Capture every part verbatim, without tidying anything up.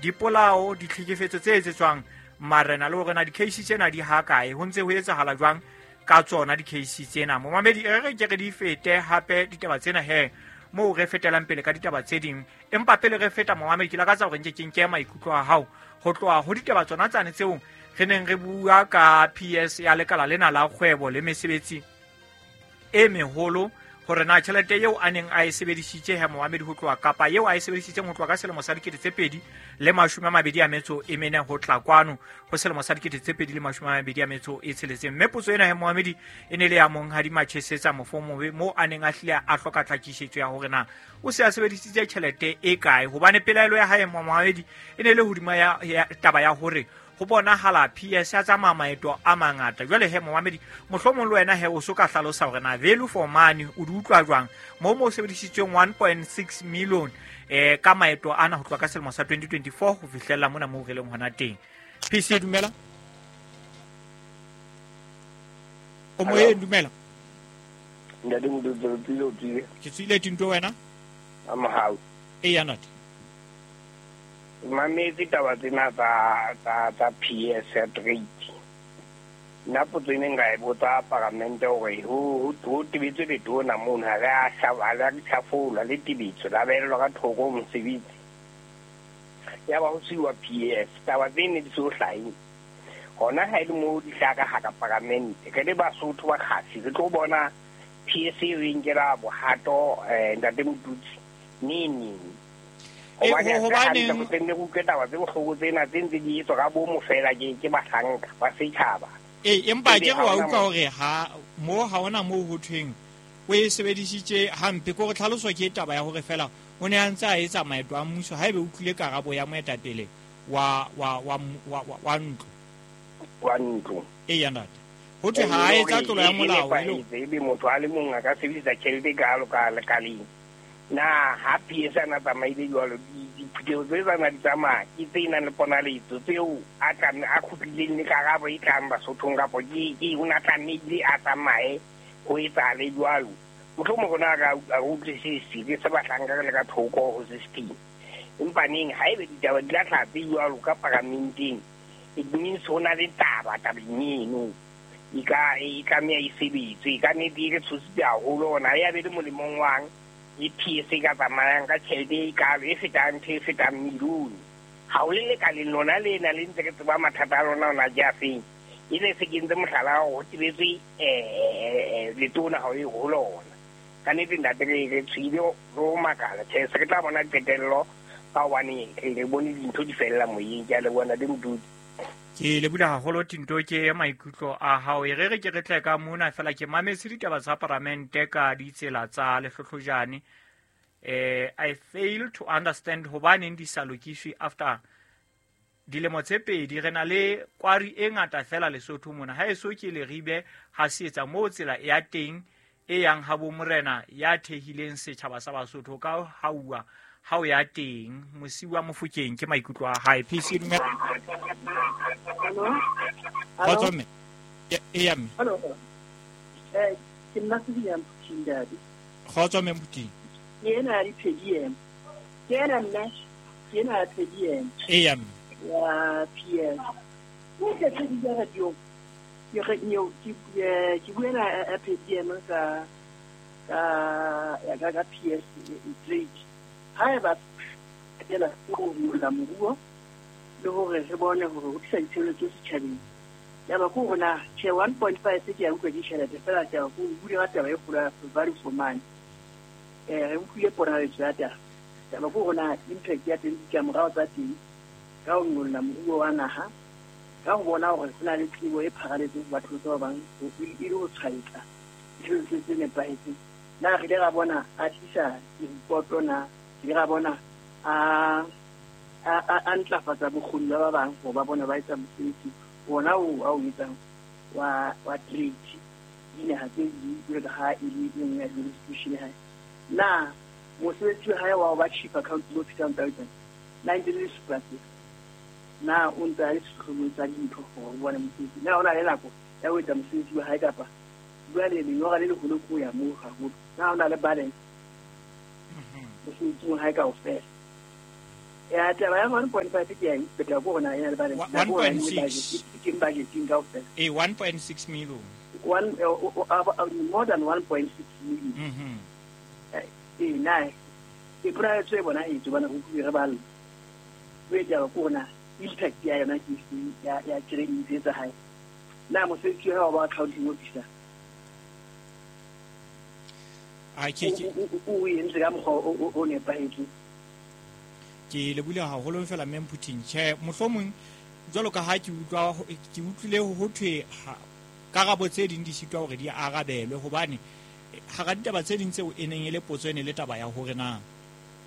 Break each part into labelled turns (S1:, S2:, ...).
S1: dipolao, ditlhekefetso tse etsetswang marena le hore na di-case tsena di ha kae, ho ntse ho etsahala jwang ka tsona di-case tsena. Momamedi, e re ke re di fete hape ditaba tsena he moo re fetelang pele ka ditaba tse ding. Empa pele re feta, momamedi, ke lakatsa hore nke ke nke maikutlo a hao ho tloha ho ditaba tsona tsane tseo re neng re bua ka P S ya lekala lena la kgwebo le mesebetsi e meholo, hore na tjhelete eo a neng a e sebedisitse he momamedi ho tloha kapa eo a e sebedisitseng ho tloha ka selemo sa dikete tse pedi le mashome a mabedi a metso e mene ho tla kwano ho selemo sa dikete tse pedi le mashome a mabedi a metso e tsheletseng. Mme potso ena he momamedi e ne le ya monghadi Machesetsa Mofomobe, moo a neng a hlile a hloka tlhakisetso ya hore na o se a sebedisitse tjhelete e kae, hobane pelaelo ya hae momamedi e ne le hodima ya, ya taba ya hore ho bonahala P S ya tsamaya maeto a mangata. Jwale he momamedi, mohlomong le wena he o so ka hlalosa hore na value for money o di utlwa jwang moo mo sebedisitsweng one point six million eh ka maeto ana ho tloha ka selemo sa twenty twenty-four ho fihlella mona moo re leng hona teng. P C, dumela. O moyeng, dumela.
S2: Ntate Modutse, tswile o tswile.
S1: Ke tswile tinto wena?
S2: A mohau.
S1: Eya ntate.
S2: Mametse taba tsena tsa tsa tsa P S ya trade. Nna potso e neng ka e botsa paramente hore ho ho tebetswe letona mono, ha re a ha le a tjhafolwa le tebetso la behelwa ka thoko mosebetsi. Ya ba ho siwa P S, taba tsene di so hlahe. Hona ha e le moo di hlaha ka hara paramente, re le Basotho ba kgasi re tlo bona P S e re nkela bohato eh ntate Motutsi neng. Hobane
S1: hobaneng
S2: re utlwe taba tse bohloko tsena tse ntse di etswa ka bomo fela ke ke bahlanka ba setjhaba.
S1: Ee, empa ke re wa utlwa hore ha mo ha hona moo ho thweng o e sebedisitse hampe, ke hore tlhaloso ke taba ya hore fela o ne a ntse a etsa maeto a mmuso haebe o utlwile karabo ya moetapele wa wa wa wa wa ntlo.
S2: Wa ntlo.
S1: Eya ntate. Ho thwe ha a etsa tlolo ya molao
S2: e ebe motho a le mong a ka sebedisa tjhelete kalo ka lekaleng. Na ha P S ana tsamaile jwalo, diphutheho tse tsana di tsamaya ke tse nang le ponaletso tseo a tla a kgutlileng le karabo e tlang Basothong, kapo ke ke o na tlamehile a tsamaye ho etsahale jwalo. Mohlomong rona a re utlwisise ke se bahlanka re le ka thoko ho system. Empa neng haebe ditaba di tla hlaha tse jwalo ka paramenteng, it means ho na le taba tabeng eno. E ka e tlameha e sebetswe. Ka nnete e re tshositse haholo hona ya be le molemong wang e P S e ka tsamayang ka tjhelete e kalo e fetang ntho e fetang milione. Ha o le lekaleng lona lena le ntse re tseba mathata a lona ona ke a feng. E le se kentse mohlala wa hore ho tebetswe eh letona ha o e ho lona. Ka nnete ntate re re tswile re ho makala. Tjhe, se re tla bona qetello ka hobane re bone dintho di fella moyeng. Ke a leboha ntate Modudi.
S1: Ke leboha haholo Tinto ke maikutlo a hao. E re re ke re tle ka mona fela ke mametse ditaba tsa paramente ka ditsela tsa lehlohlojane. Eh, I fail to understand hobaneng di sa lokiswe after dilemo tse pedi. Re na le kwari e ngata fela Lesotho mona. Ha eso ke Leribe ha se etsa moo tsela ya teng e yang ha bo morena ya thehileng setjhaba sa Basotho ka hauwa ha o ya teng Mosiwa Mofokeng ke maikutlo a hae. P C dumela.
S3: Hello.
S1: Hello. E ya mme.
S3: Hello. Eh, ke nna Sibia Mphuting dadi.
S1: Kgotso mme Mphuting.
S3: Ke ena ya di-P D M. Ke ena nna, ke ena ya P D M.
S1: E ya mme.
S3: Ya P S. Ke ke tse di ja radio. Ke re nyo ke ke buela ya P D M ka ka ya ka ka P S trade. Haeba ela go bula moruo le hore re bone hore ho tlisa ditshebeletso setjhabeng. Ya ba ko rona tjhe one point five ke ya utlwa ke tjhelete fela ke ya go bua ka taba e kgolo ya value for money. Eh re utlwile ponaletso ya taba. Ya ba ko rona impact ya teng ditlamorao tsa teng ka ho nyolla moruo wa naha, ka ho bona hore ho na le tsebo e pharaletseng batho ba bang e le ho tshwaetsa ditshebeletso tse nepahetseng. Na re ile ra bona a tlisa direpoto na, re ile ra bona a a ntlafatsa bokgoni ba ba bang hore ba bona ba etsa mosebetsi ona oo a o etsang wa wa trade dinaha tse ding jwalo ka ha e le e nngwe ya jurisdiction ya hae. Na mosebetsi wa hae wa ho ba chief accounting officer consultant na ntse le supa se, na o ntse a le sehlohlolong sa dintho hore o bone mosebetsi, na o na le nako ya ho etsa mosebetsi wa hae kapa jwale lenyora le leholo ke ho ya moo haholo, na o na le balance mosebetsing wa hae kaofela. Ya taba ya one point five ke ya ipeta go rona ena le ba
S1: one point six
S3: ke budgeting kaofela.
S1: Eh one point six million.
S3: One uh, uh, more than one point six million.
S1: Mhm.
S3: Eh na e private e bona e tswana go re ba le. We taba go rona impact ya yona ke ya ya training tse tsa hae. Na mosebetsi wa ba accounting officer.
S1: A ke ke
S3: o entse ka mokgwa o nepahetseng.
S1: Ke le bula haholo fela mme Mputing. Tjhe, mohlomong jwalo ka ha ke utlwa ke utlwile ho thwe karabo tse ding di sitwa hore di arabelwe hobane hara ditaba tse ding tseo e neng e le potso e ne le taba ya hore na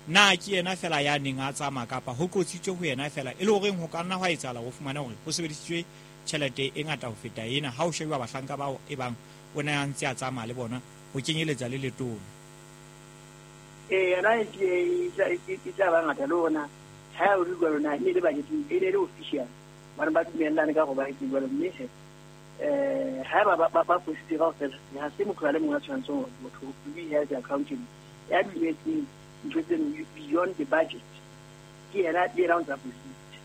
S1: na ke yena fela ya neng a tsamaya kapa ho qotsitswe ho yena fela e le horeng ho ka nna hwa etsahala ho fumana hore ho sebedisitswe tjhelete e ngata ho feta ena ha o shebiwa bahlanka bao e bang o ne a ntse a tsamaya le bona ho kenyeletsa le letona.
S3: Eh yona e e tla ba ngata le ona ha o re jwalo na e le budget e le official ba ba dumellane ka go ba itse jwalo mme eh ha ba ba ba positse kaofela ha se motho a le mongwe a tshwanetseng hore motho o be held accountable ya dumetseng ntho tse beyond the budget ke yena ke yena o ntsa positse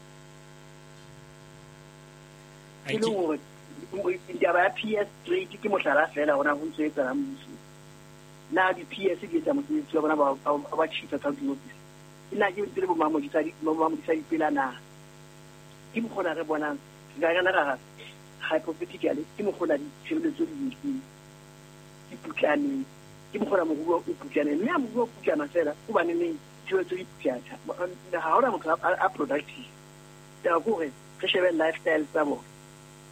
S3: e le hore taba ya P S trade ke mohlala fela hona ho ntse etsahalang mmuso. Na di P S di etsa mosebetsi wa bona ba ba chief accounting officer nna ke ntse le bo mamodisa di mamodisa dipela na ke mokgona re bonang re ka ra hypothetically ke mokgona ditshebeletso di di di putlaneng ke mokgona moruo o putlaneng mme a moruo o putlana fela hobane neng tshebeletso di putlana ha hona motho a productive. Taba ke hore re shebe lifestyle tsa bona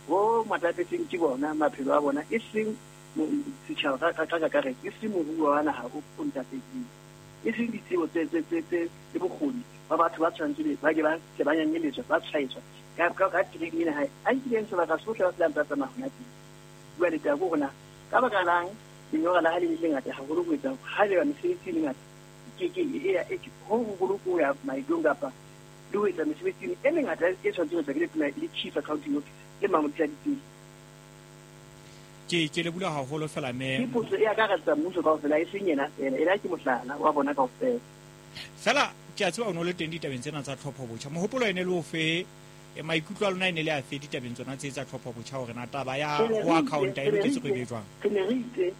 S3: bo matlapetseng ke bona maphelo a bona e seng setjhaba ka ka kakaretso e seng moruo wa naha o ntlafetseng e seng ditsebo tse tse tse tse le bokgoni ba batho ba tshwanetse ba ke ba tle ba nyanyeletswa ba tshwaetswa ka ka ka training ena hae a nkileng sebaka sohle ba tlang ba tsamaya hona teng. Jwale taba ke hore na ka baka lang lenyora la hae le lengata haholo ho etsa ha le ba mesebetsi e mengata ke ke e ho hoholo ko ya maetong kapa le ho etsa mesebetsi e mengata e tshwanetse ho etswa ke letona le chief accounting officer le mamodisa diteng.
S1: Ke ke le bula haholo fela mme
S3: ke potso e akaretsa mmuso kaofela e seng yena fela ena ke mohlala wa bona kaofela.
S1: Fela ke a tseba o no le teng ditabeng tsena tsa tlhopho botjha mohopolo ene le ofe maikutlo a lona ene le a fe ditabeng tsona tse tsa tlhopho botjha hore na taba ya ho accounta e loketse go e be jwang.
S3: Re ne re itse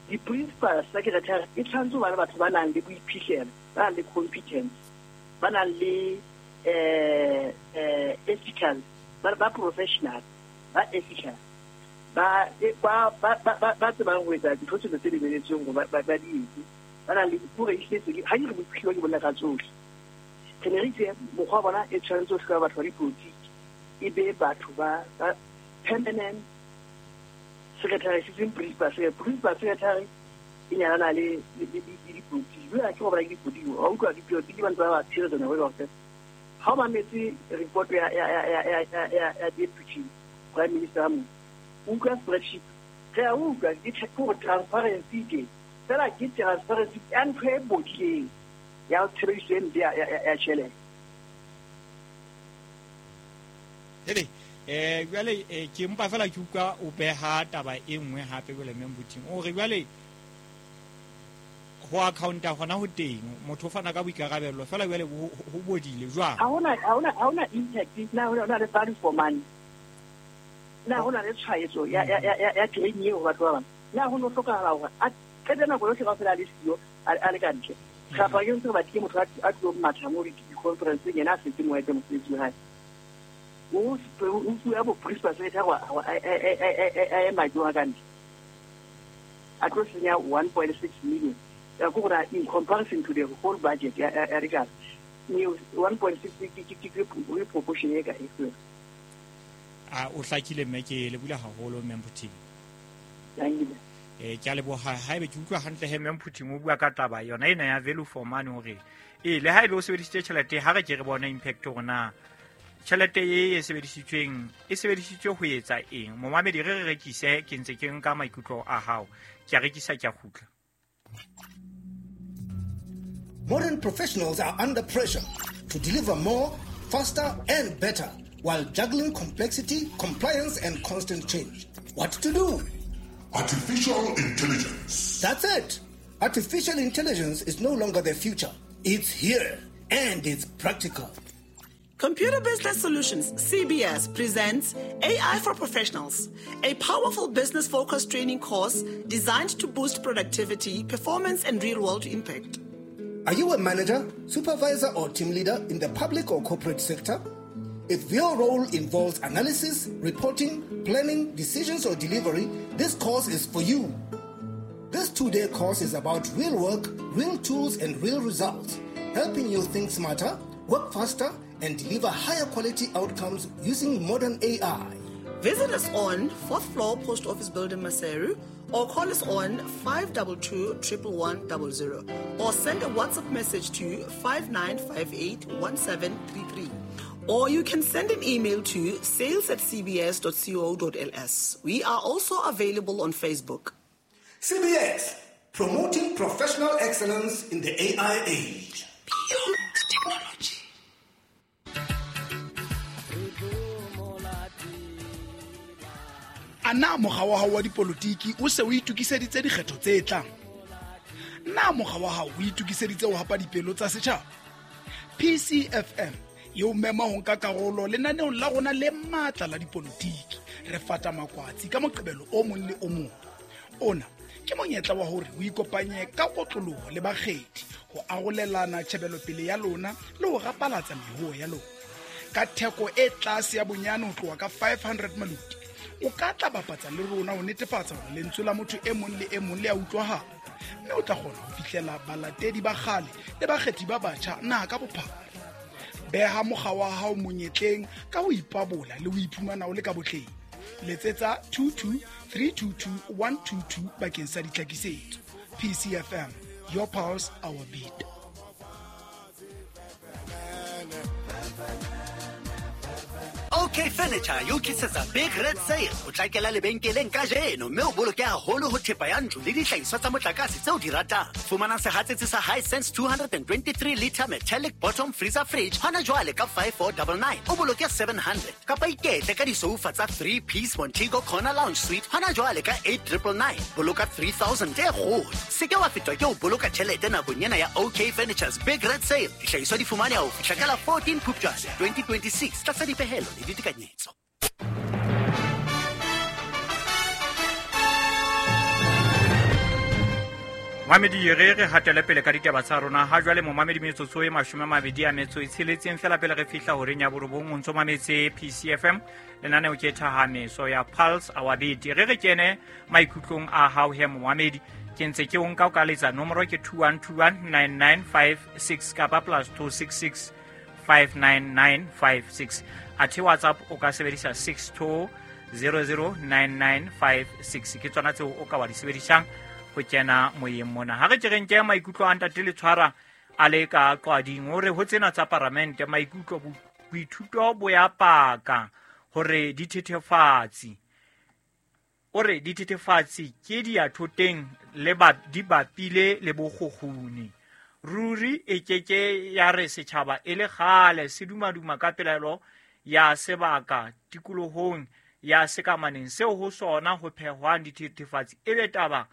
S3: di-principal secretary e tshwanetse ho ba le batho ba nang le boiphihlelo ba nang le competence ba nang le eh eh ethical ba ba professional ba ethical ba ba ba ba tsebang ho etsa dintho tsohle tse lebeletsweng hore ba ba di etse ba nang le hore ehletse ha ke re boiphihlelo ke bolela ka tsohle. Re ne re itse mokgwa wa bona e tshwanetse ho hloka batho ba dipolotiki e be batho ba permanent secretary se seng principal secretary principal secretary e nyalana le le dipolotiki jwale ke go bona ke dipolotiki wa utlwa dipolotiki ba ntse ba ba tshireletsa nako e kaofela. Ha o mametse report ya ya ya ya ya ya deputy prime minister mo utlwa spreadsheet re a utlwa ke hore transparency ke fela ke transparency ya ntho e bodileng ya tshebediso e mpe ya ya tjhelete.
S1: Hele eh jwale ke mpa fela ke utlwa o beha taba e nngwe hape jwale mme Mputing o re jwale ho accounta hona ho teng motho o fana ka boikarabelo fela jwale ho bodile jwang
S3: ha hona ha hona ha hona impact na hona le value for money na hona le tshwaetso ya ya ya ya training eo batho ba bang na ho no hlokahala hore a qete nako yohle kaofela a le siyo a le ka ntle kapa ke ntse ba ke motho a tlo matha mo di-conference yena a setse mo etse mosebetsi wa hae o o fuwa bo principal secretary a ema jwang ka ntle a tlo senya one point six million ya go ra in comparison to the whole budget ya ya lekala one point six ke ke ke proportion e ka e fela.
S1: A o hlakile mme ke le bula haholo mme Mputing.
S3: Thank you.
S1: Eh ke a leboha haebe ke utlwa hantle he mme Mputing o bua ka taba yona ena ya value for money hore e le haebe o sebedisitse tjhelete ha re ke re bona impact hore na tjhelete e e sebedisitsweng e sebedisitswe ho etsa eng. Momamedi re re rekise ke ntse ke nka maikutlo a hao ke a rekisa ke a kgutla.
S4: Modern professionals are under pressure to deliver more, faster and better while juggling complexity, compliance and constant change. What to do?
S5: Artificial intelligence.
S4: That's it. Artificial intelligence is no longer the future. It's here. and it's practical.
S5: Computer Business Solutions, C B S, presents A I for Professionals, a powerful business-focused training course designed to boost productivity, performance, and real-world impact.
S4: Are you a manager, supervisor, or team leader in the public or corporate sector? If your role involves analysis, reporting, planning, decisions, or delivery, this course is for you. This two-day course is about real work, real tools, and real results, helping you think smarter, work faster, and deliver higher quality outcomes using modern A I.
S5: Visit us on fourth floor Post Office Building, Maseru, or call us on five two two, one one one zero, or send a WhatsApp message to five nine five eight, one seven three three. Or you can send an email to sales at c b s dot co dot l s. We are also available on Facebook.
S4: C B S, promoting professional excellence in the A I age.
S5: Beyond technology.
S6: A na mokga wa hao wa dipolotiki o se o itokiseditse dikgetho tse tlang? Na mokga wa hao o itokiseditse ho hapa dipelo tsa setjhaba? P C F M e o mema ho nka karolo lenaneong la rona le matla la dipolotiki. Re fata makwatsi ka Moqebelo o mong le o mong. Ona ke monyetla wa hore o ikopanye ka kotloloho le bakgethi ho arolelana tjhebelopele ya lona le ho rapalatsa mehoho ya lona. Ka theko e tlase ya bonyane ho tloha ka five hundred maluti, o ka tla bapatsa le rona ho netefatsa hore lentswe la motho e mong le e mong le a utlwahala, mme o tla kgona ho fihlela balatedi ba kgale le bakgethi ba batjha naha ka bophara. Beha mokga wa hao monyetleng ka ho ipabola le ho iphumana o le ka botleng. Letsetsa two two three two two one two two bakeng sa ditlhakisetso. P C F M, your pulse, our beat.
S7: OK Furniture yo tlisetsa Big Red Sale. O tlakela lebenkeleng kajeno mme o boloke haholo ho thepa ya ntlo le dihlahiswa tsa motlakase tseo di ratang. Fumana sehatsetsi sa Hisense two twenty-three liter metallic bottom freezer fridge hona jwale ka five four nine nine. O boloke seven hundred. Kapa iketle ka disoufa tsa three piece Montego Corner Lounge Suite hona jwale ka eight nine nine. Boloka three thousand e kgolo. Se ke wa fetwa ke ho boloka tjhelete nakong ena ya OK Furniture's Big Red Sale. Dihlahiswa di fumaneha ho fihla ka la fourteen Phupjane twenty twenty-six tlasa dipehelo le ditekanyetso.
S1: Mamedi re re hatele pele ka ditaba tsa rona ha jwale momamedi metsotso e mashome a mabedi a metso e tsheletseng fela pele re fihla horeng ya borobong o ntso mametse P C F M lenaneo ke thahameso ya Pulse Our Beat. Re re kene maikutlong a hao he momamedi, ke ntse ke o nka o ka letsa nomoro ke two one two one nine nine five six kapa plus two six six five nine nine five six. Athe WhatsApp o ka sebedisa six two zero zero nine nine five six. Ke tsona tseo o ka wa di sebedisang ho kena moyeng mona. Ha re ke re nke maikutlo a ntate Letshwara a le ka qwading hore ho tsena tsa paramente maikutlo boithuto bo ya paka hore dithethefatsi o re dithethefatsi ke di ya thoteng le ba di bapile le bokgokguni. Ruri e keke ya re setjhaba e le kgale se dumaduma ka pelaelo ya sebaka tikolohong ya sekamaneng seo ho sona ho phehwang dithethefatsi e be taba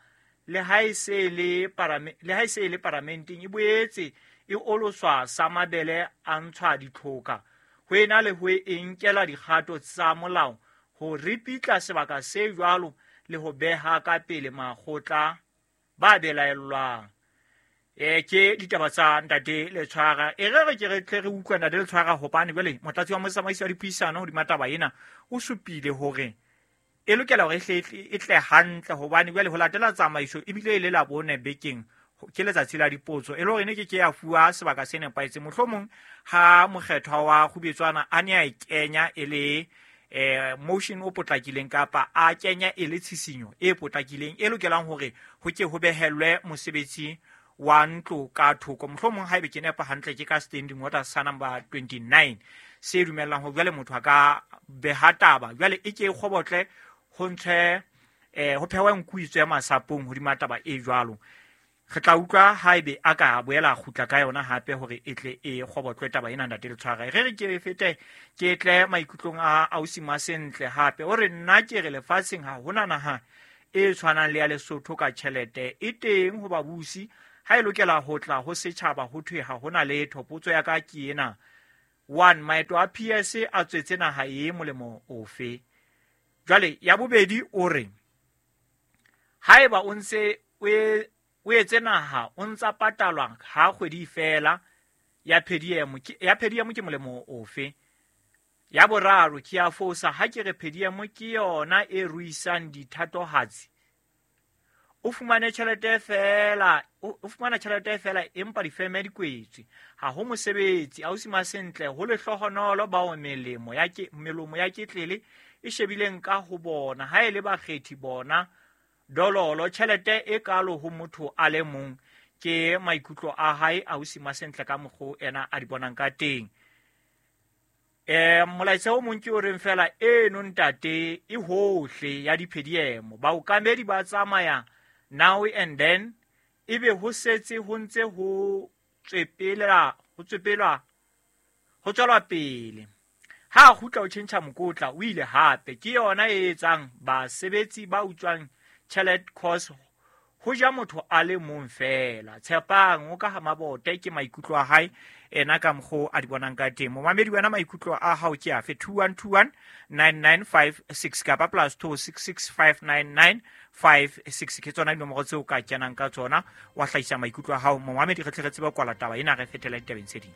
S1: le ha e se le parame le ha e se le paramenteng e boetse e oloswa sa mabele a ntshwa ditlhoka ho ena le ho e nkela dikgato tsa molao ho ripitla sebaka se jwalo le ho beha ka pele makgotla ba belaellwang. E ke ditaba tsa ntate Letshwara. E re re ke re tle re utlwe ntate Letshwara hobane jwale motlatsi wa motsamaisi wa dipuisano hodima taba ena o supile hore e lokela hore e tle hantle hobane jwale ho latela tsamaiso ebile e le la bone bekeng ke letsatsi la dipotso e le hore ne ke ke ya fuwa sebaka se nepahetseng. Mohlomong ha mokgethwa wa Kgubetswana a ne a e kenya e le eh motion o potlakileng kapa a kenya e le tshisinyo e potlakileng e lokelang hore ho ke ho behellwe mosebetsi wa ntlo ka thoko. Mohlomong haebe ke nepa hantle ke ka standing order sa number twenty-nine se dumellang ho jwale motho a ka beha taba jwale e ke e kgobotle ho ntshwe eh ho phehwe nkuitso ya masapong hodima taba e jwalo. Re tla utlwa haebe a ka boela a kgutla ka yona hape hore e tle e kgobotlwe taba ena ntate Letshwara. Re re ke fete ke tle maikutlong a ausi Masentle hape o re nna ke re lefatsheng ha hona naha e tshwanang le ya Lesotho ka tjhelete e teng ho babusi Ha e lokela ho tla ho setjhaba ho thwe ha hona letho. Potso ya ka ke ena: one, maeto a P S a tswetse naha e molemo ofe? Jwale ya bobedi o re haeba o ntse o etse naha o ntsa patalwa ha kgwedi fela ya per diem ke ya per diem ke molemo ofe? Ya boraro ke ya fosa ha ke re per diem ke yona e ruisang dithatohatsi. O fumane tjhelete fela, o fumana tjhelete fela empa difeme di kwetswe. Ha ho mosebetsi, ausi Masentle ho lehlohonolo bao melemo ya ke melomo ya ketlele e shebileng ka ho bona. Ha e le bakgethi bona dololo tjhelete e kalo ho motho a le mong. Ke maikutlo a hae ausi Masentle ka mokgo ena a di bonang ka teng. Eh molaetsa o mong ke o reng fela eno ntate e hohle ya diphediemo. Baokamedi ba tsamaya now and then ebe ho setse ho ntse ho tswepela ho tswepelwa ho tswelwa pele. Ha kgutla o tjhentjha mokotla o ile hape. Ke yona e etsang basebetsi ba utswang tjhelete cause ho ja motho a le mong fela. Tshepang o ka ha Mabote ke maikutlo a hae ena ka mokgo a di bonang ka teng. Momamedi wena maikutlo a hao ke afe? two one two one nine nine five six kapa plus two six six five nine nine five six ke tsona dinomoro tseo ka kenang ka tsona wa hlahisa maikutlo a hao. Momamedi re tle re tsebe kwala taba ena re fetela ditabeng tse ding.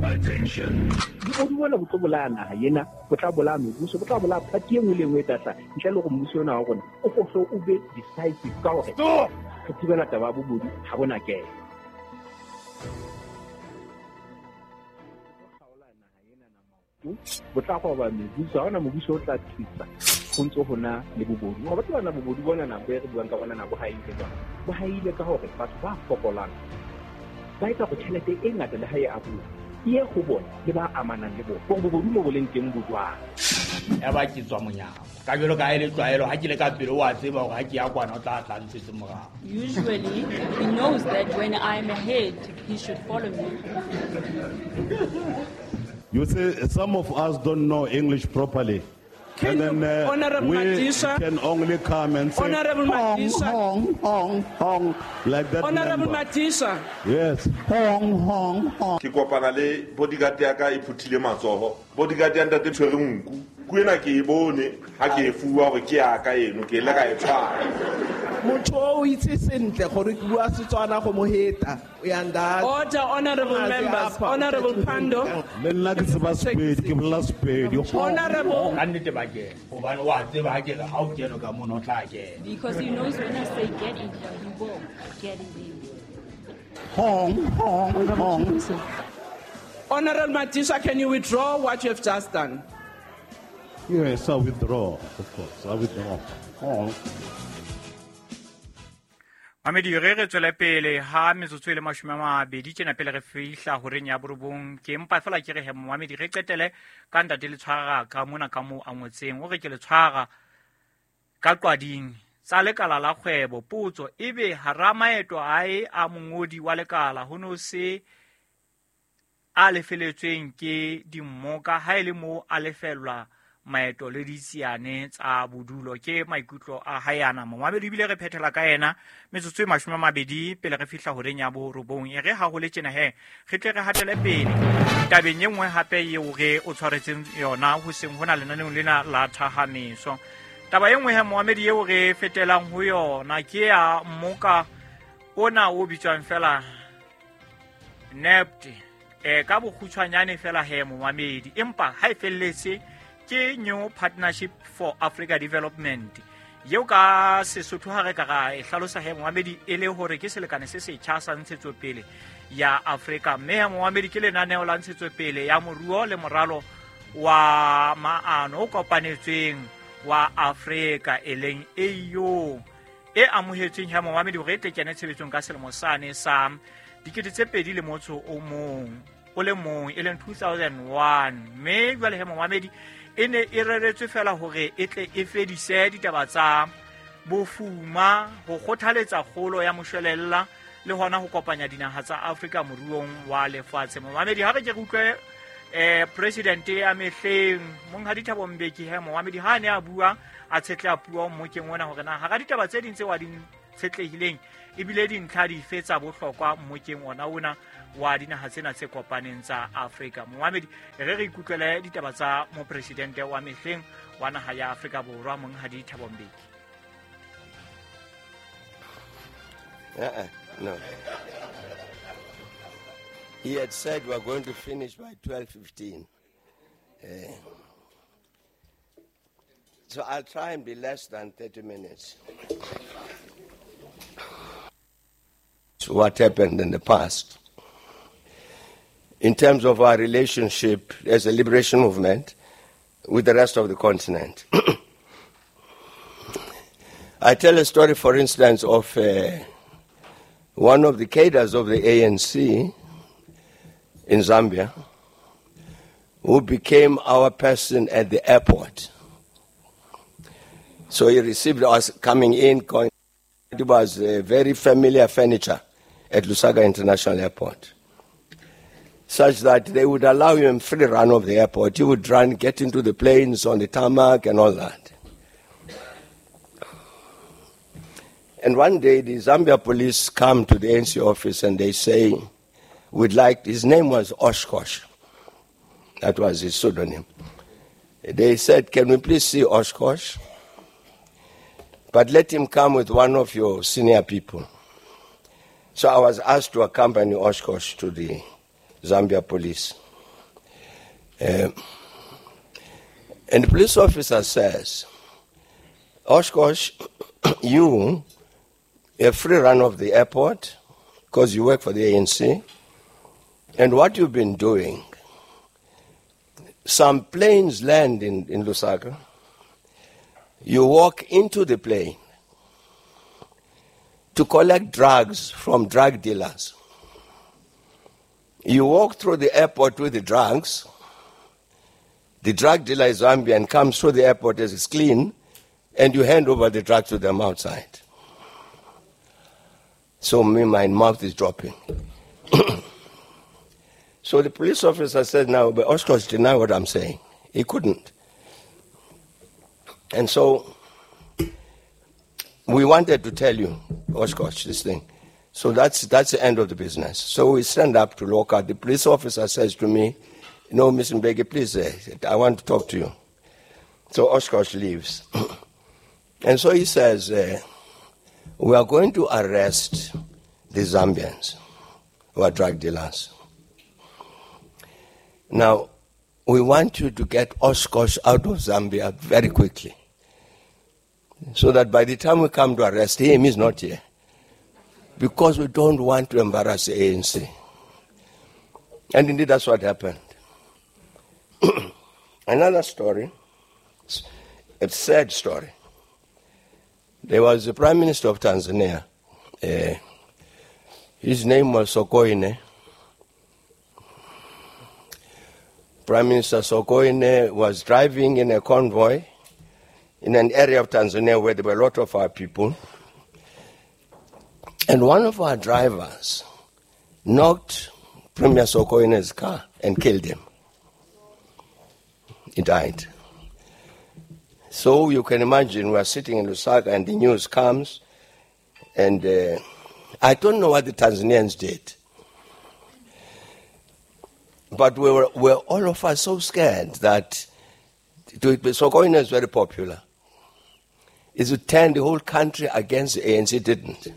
S8: Attention. Bobodu bona bo tlo bolaya naha ena, bo tla bolaya mebuso, bo tla bolaya party e nngwe le nngwe e tla hlaha. Ntle le hore mmuso ona wa rona o fohle o be decisive ka hore re thibela taba ya bobodu ha bona kena. Bo tla roba mebuso, ha hona mobuso o tla thusa ho ntso hona le bobodu. Ngoba tseba na bobodu bona nako e re buang ka bona na bo haile jwang. Bo haile ka hore batho ba fokolang ba etsa hore tjhelete e ngata le ha e abuwa e ye ho bona le ba amanang le bona. Hore bobodu mo bo leng teng bo jwang.
S9: Ya ba ke tswa monyako. Ka jwalo ka ha e le tlwaelo ha ke le ka pele o a tseba hore ha ke ya kwana o tla tla ntshetse morao.
S10: Usually he knows that when I'm ahead he should follow me.
S11: You see, some of us don't know English properly.
S12: Can
S11: and then uh,
S12: Honorable
S11: we
S12: Madisha,
S11: can only come and say,
S12: Honorable
S11: hong,
S12: Madisha,
S11: hong, hong, hong, like that.
S12: Honorable Madisha.
S11: Yes. Hong, hong, hong.
S13: Ke kopana le bodyguard ya ka e phuthile matsoho. Bodyguard ya ntate tshwere nku. Ku ena ke e bone ha ke e fuwa hore ke ya ka eno, ke ile ka e tshwara.
S14: Motho o itse sentle gore ke bua Setswana go mo heta.
S12: Order, honorable members. Honorable Pando.
S11: Le nna ke tseba Sepedi, ke bolela Sepedi.
S12: Honorable.
S9: Ka nnete ba kena. Hobane wa tseba ha ke re ha o kene ka mono o tla kena.
S10: Because he knows when I say get in here, he will get in there.
S11: Hong, hong, hong.
S12: Honorable Madisha, can you withdraw what you have just done?
S11: Yes, I withdraw, of course. I withdraw. Hong.
S1: Mamedi re re tswele pele ha metsotso e le mashome a mabedi tjena pele re fihla horeng ya borobong. Ke empa fela ke re he momamedi re qetele ka ntate le tshwara ka mona ka moo a ngotseng. O re ke le tshwara ka qwading tsa lekala la kgwebo. Potso ebe hara maeto ae a mongodi wa lekala ho no se a lefeletsweng ke dimmoka ha e le moo a lefellwa maeto le ditsiane tsa bodulo. Ke maikutlo a hae ana. Momamedi ebile re phethela ka yena metsotso e mashome a mabedi pele re fihla horeng ya borobong. E re ha ho le tjena he re tle re hatele pele tabeng e nngwe hape eo re o tshwaretseng yona ho seng hona lenaneong lena la Thahameso. Taba e nngwe he momamedi eo re fetelang ho yona ke ya mmoka ona o bitswang fela N E P T e ka bokgutshwanyane fela he momamedi, empa ha e felletse ke New Partnership for Africa Development yeo ka Sesotho ha re ka ra e hlalosa he momamedi e le hore ke selekane se setjha sa ntshetsopele ya Afrika. Mme he momamedi ke lenaneo la ntshetsopele ya moruo le moralo wa maano o kopanetsweng wa Afrika e leng A U e amohetsweng he momamedi hore e tle kene tshebetsong ka selemo sane sa dikete tse pedi le motso o mong o le mong e leng two thousand one. Mme jwale he momamedi e ne e reretswe fela hore e tle e fedise ditaba tsa bofuma, ho kgothaletsa kgolo ya moshwelella le hona ho kopanya dinaha tsa Afrika moruong wa lefatshe. Momamedi ha re ke re utlwe eh president ya mehleng Monghadi Thabo Mbeki he momamedi ha ne a bua a tshetleha puo mmokeng ona hore na hara ditaba tse ding tse wa di tshetlehileng ebile dintlha dife tsa bohlokwa mmokeng ona ona wa dinaha tsena tse kopaneng tsa Afrika. Momamedi, re re ikutlwele ditaba tsa mopresidente wa mehleng wa naha ya Afrika Borwa Monghadi Thabo Mbeki.
S15: Uh-uh, no. He had said we are going to finish by twelve fifteen. Uh, so I'll try and be less than thirty minutes. So what happened in the past? In terms of our relationship as a liberation movement with the rest of the continent. I tell a story, for instance, of uh, one of the cadres of the A N C in Zambia who became our person at the airport. So he received us coming in, going, it was a very familiar furniture at Lusaka International Airport, such that they would allow him free run of the airport. He would run, get into the planes on the tarmac and all that. And one day the Zambia police come to the A N C office and they say, we'd like, his name was Oshkosh. That was his pseudonym. They said, can we please see Oshkosh? But let him come with one of your senior people. So I was asked to accompany Oshkosh to the Zambia police. Uh, and the police officer says, Oshkosh, you have free run of the airport because you work for the A N C. And what you've been doing, some planes land in, in Lusaka. You walk into the plane to collect drugs from drug dealers. You walk through the airport with the drugs. The drug dealer is Zambian, comes through the airport as it's clean, and you hand over the drugs to them outside. So me, my mouth is dropping. So the police officer said, now, but Oshkosh denied what I'm saying. He couldn't. And so we wanted to tell you, Oshkosh, this thing. So that's, that's the end of the business. So we stand up to look out. The police officer says to me, no, Mister Mbeki, please, uh, I want to talk to you. So Oshkosh leaves. And so he says, uh, we are going to arrest the Zambians who are drug dealers. Now, we want you to get Oshkosh out of Zambia very quickly, so that by the time we come to arrest him, he's not here. Because we don't want to embarrass the A N C. And indeed, that's what happened. Another story, a sad story. There was the Prime Minister of Tanzania. Uh, his name was Sokoine. Prime Minister Sokoine was driving in a convoy in an area of Tanzania where there were a lot of our people. And one of our drivers knocked Premier Sokoine's car and killed him. He died. So you can imagine we are sitting in Lusaka and the news comes, and uh, I don't know what the Tanzanians did. But we were, we were all of us so scared that Sokoine is very popular. It would turn the whole country against the A N C. It didn't.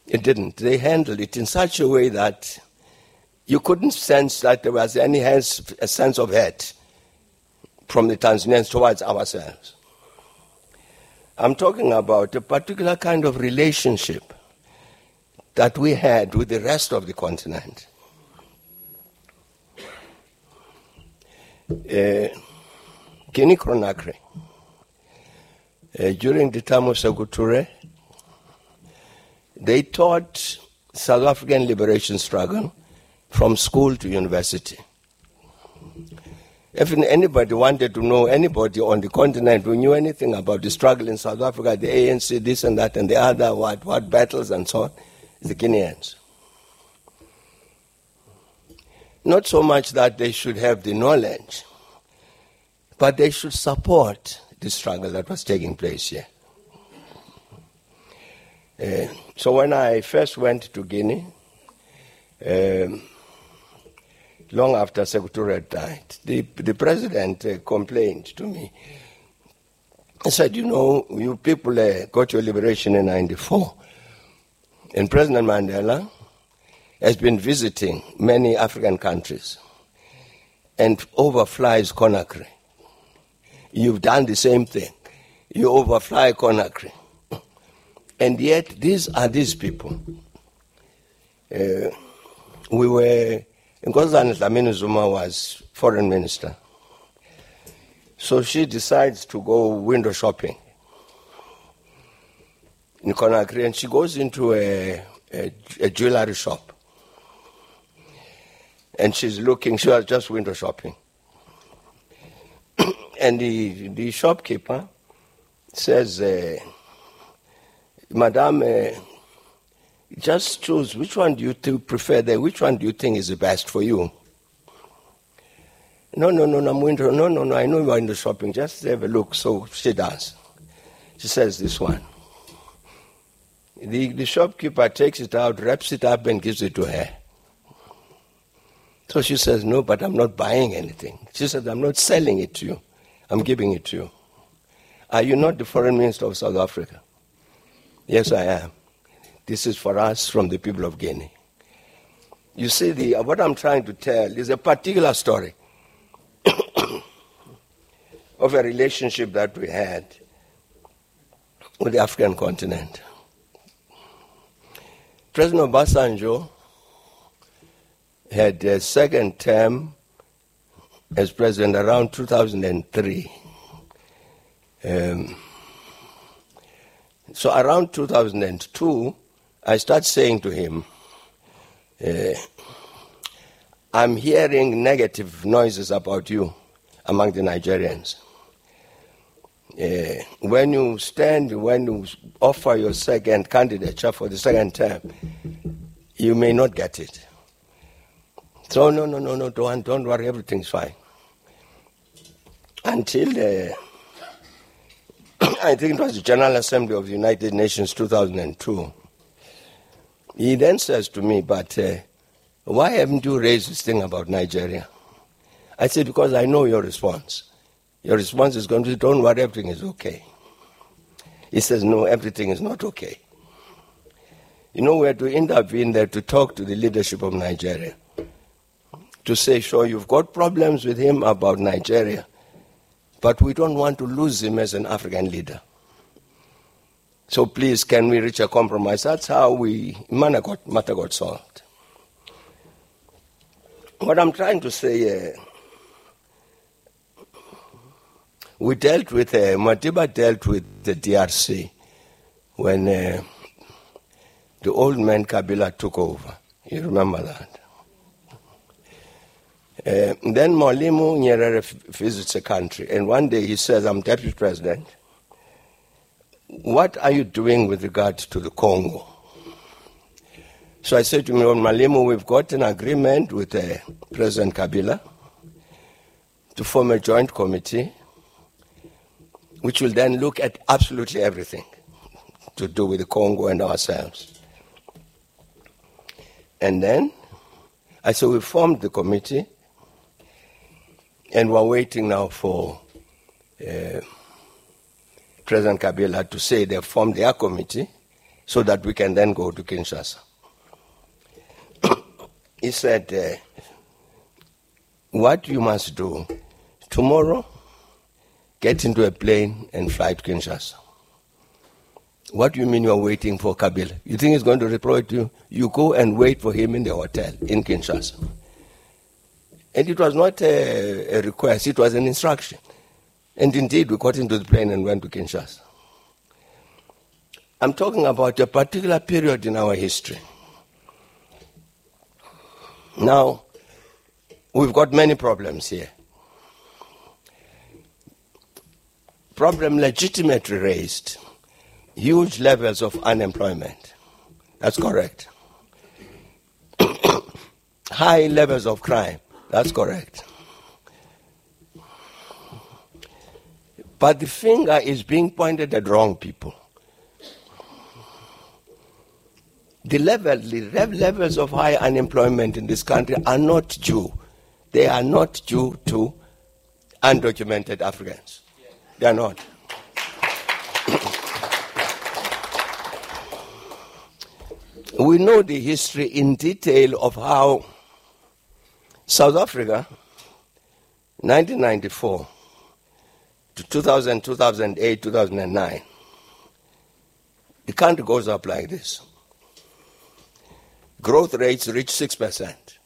S15: It didn't. They handled it in such a way that you couldn't sense that there was any a sense of hate from the Tanzanians towards ourselves. I'm talking about a particular kind of relationship that we had with the rest of the continent. Uh, Guinea Conakry, uh, during the time of Sekou Touré, they taught South African liberation struggle from school to university. If anybody wanted to know anybody on the continent who knew anything about the struggle in South Africa, the A N C, this and that and the other, what, what battles and so on, the Guineans. Not so much that they should have the knowledge, but they should support the struggle that was taking place here. Uh, so when I first went to Guinea, um, long after Sekou Touré had died, the, the president uh, complained to me. He said, you know, you people uh, got your liberation in ninety-four. And President Mandela has been visiting many African countries and overflies Conakry. You've done the same thing. You overfly Conakry. And yet, these are these people. Uh, we were, Nkosazana Dlamini Zuma was foreign minister. So she decides to go window shopping in Conakry, and she goes into a, a, a jewelry shop. And she's looking, she was just window shopping. And the, the shopkeeper says, uh, Madame, uh, just choose which one do you th- prefer there, which one do you think is the best for you? No, no, no, no, I'm window, no, no, no, I know you are in the shopping, just have a look. So she does. She says, this one. The, the shopkeeper takes it out, wraps it up, and gives it to her. So she says, no, but I'm not buying anything. She says, I'm not selling it to you. I'm giving it to you. Are you not the foreign minister of South Africa? Yes, I am. This is for us from the people of Guinea. You see, the, what I'm trying to tell is a particular story of a relationship that we had with the African continent. President Obasanjo had a second term as president around two thousand three. Um, so around two thousand two, I start saying to him, uh, I'm hearing negative noises about you among the Nigerians. Uh, when you stand, when you offer your second candidature for the second term, you may not get it. So no, no, no, no, don't, don't worry, everything's fine. Until the, I think it was the General Assembly of the United Nations two thousand two. He then says to me, but uh, why haven't you raised this thing about Nigeria? I said, because I know your response. Your response is going to be, don't worry, everything is okay. He says, no, everything is not okay. You know, we had to intervene there to talk to the leadership of Nigeria, to say, sure, you've got problems with him about Nigeria, but we don't want to lose him as an African leader. So please, can we reach a compromise? That's how we, matter got, matter got solved. What I'm trying to say, uh, we dealt with, uh, Madiba dealt with the D R C when uh, the old man Kabila took over. You remember that? Uh, then Mwalimu Nyerere visits the country, and one day he says, I'm deputy president. What are you doing with regard to the Congo? So I said to him, Mwalimu, we've got an agreement with uh, President Kabila to form a joint committee, which will then look at absolutely everything to do with the Congo and ourselves. And then, I said, we formed the committee, and we're waiting now for uh, President Kabila to say they formed their committee so that we can then go to Kinshasa. He said, uh, what you must do, tomorrow, get into a plane and fly to Kinshasa. What do you mean you are waiting for Kabila? You think he's going to reply to you? You go and wait for him in the hotel in Kinshasa. And it was not a, a request, it was an instruction. And indeed, we got into the plane and went to Kinshasa. I'm talking about a particular period in our history. Now, we've got many problems here. Problem legitimately raised. Huge levels of unemployment. That's correct. High levels of crime. That's correct. But the finger is being pointed at wrong people. The level, the levels of high unemployment in this country are not due. They are not due to undocumented Africans. They are not. We know the history in detail of how South Africa, nineteen ninety-four to two thousand, two thousand eight, two thousand nine, the country goes up like this. Growth rates reach six percent.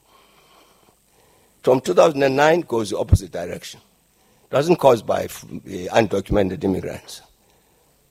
S15: From two thousand nine goes the opposite direction. It wasn't caused by undocumented immigrants.